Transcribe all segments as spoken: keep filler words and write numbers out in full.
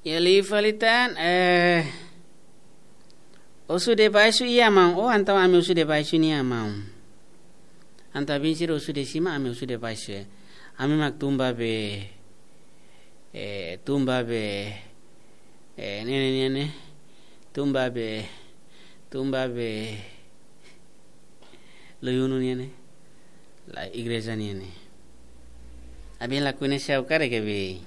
Iha liu fali tan, eh, husu debaixu iha maun. Oh, entaun ami husu debaixu nian maun. Entaun bin sira husu de'it sima, ami husu debaixu, eh. Ami mak tun ba be, eh, tun ba be, eh, ne'e, ne'e, ne'e, ne'e. Tun ba be, tun ba be. Loyunu nian ne'e. La igreja nian ne'e. Abin la koñese ha'u karik abin.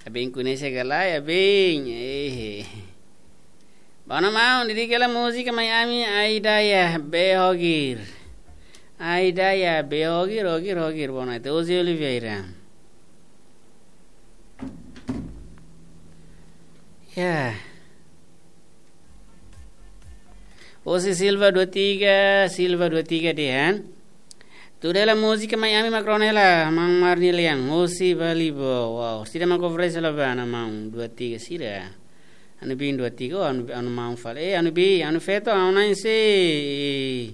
Abin koñese ka lae abin. Eh. Bono maun, dedika hela múzika mai ami, Aidaya Behogir. Aidaya Behogir, Hogir, Hogir, bono. Ete José Oliveira. Ya. José Silva dua tiga, Silva dua tiga dehan. Tuda hela múzika mai ami mak rona hela, maun Marni Liang, José Balibo, wow, sira mak oferese la ba, ana maun dua tiga sira. Anu bin dua tiga, oh, anu, anu maun fali, eh, anu bin, anu feto, anu na'in se, eh,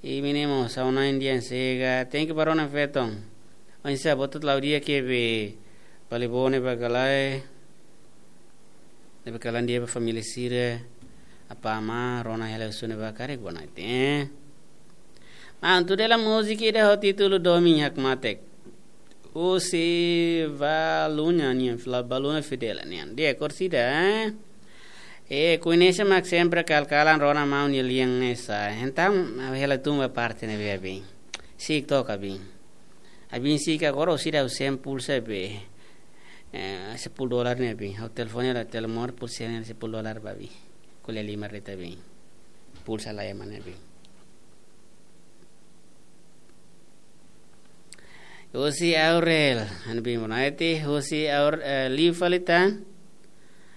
eh, menino, anu na'in dian sega, thank you ba rona feto. Oinsá, botu lau dia ke be, Balibo ne'e ba ka lae. Ne'ebé kalan dia ba família sira, apá amá, rona hela husu ne'ebá karik bonoite, eh. Maun, tuda hela múzika ida ho títulu Domin Hakmatek. Husi Balunya nian, fila Balunya Fidela nian. Dia korsida, eh. Eh, koñese mak sempre kal-kalan rona maun nia lian ne'e sá. Entaun, ha'u hela tun ba parte ne'ebé abin. Si'ik took abin. Abin si'ik agora husi ida husi pulsa be. Eh, sepuluh dolar ne'e abin. Ha'u telefone la telemóvel pulsa ne'e sepuluh dolar ba abin. Ko'alia lima reta abin. Pulsa la ema ne'e abin. Husi Aurel, anu bin bonoite, husi Aur-, eh, liu fali tan.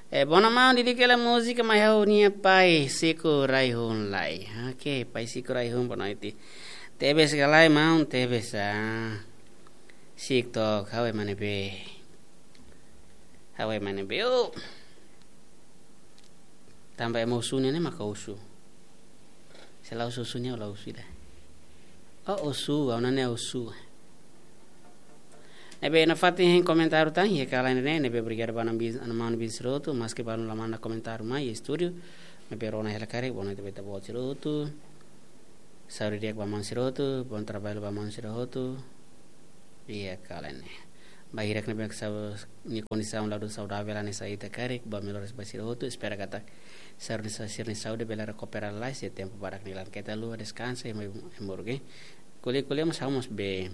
Eh, bono maun, dedika hela múzika mai ha'u-nia pai Siku Raihun lai. Oke, pai Siku Raihun bonoite. Tebes ka lae maun, tebes, ah. Si'ik took, ha'u ema ne'ebé. Ha'u ema ne'ebé, oh. Tanba ema husu nian ne'e maka husu. Se la husu husu nian la husu ida. Oh, husu, ha'u-nia ne'e husu. Ne'ebé nafatin hein komentáriu tan, iha kalan ne'e, ne'ebé obrigadu ba maun bin, maun bin sira hotu, maske balu la manda komentáriu mai iha estúdiu, maibé rona hela karik, bonoite ba ita-boot sira hotu. Saúde di'ak ba maun sira hotu, bom trabalho ba maun sira hotu. Iha kalan ne'e. Ba hirak ne'ebé sa-, nia kondisaun la dún saudavel hanesan ita karik, ba melhoras ba sira hotu, espera katak sira-nia sa-, sira-nia saúde bele rekupera lalais, iha tempu badak nia laran. Keta haluha deskansa, ema, ema urgen. Ko'alia, ko'alia mós ha'u mós be.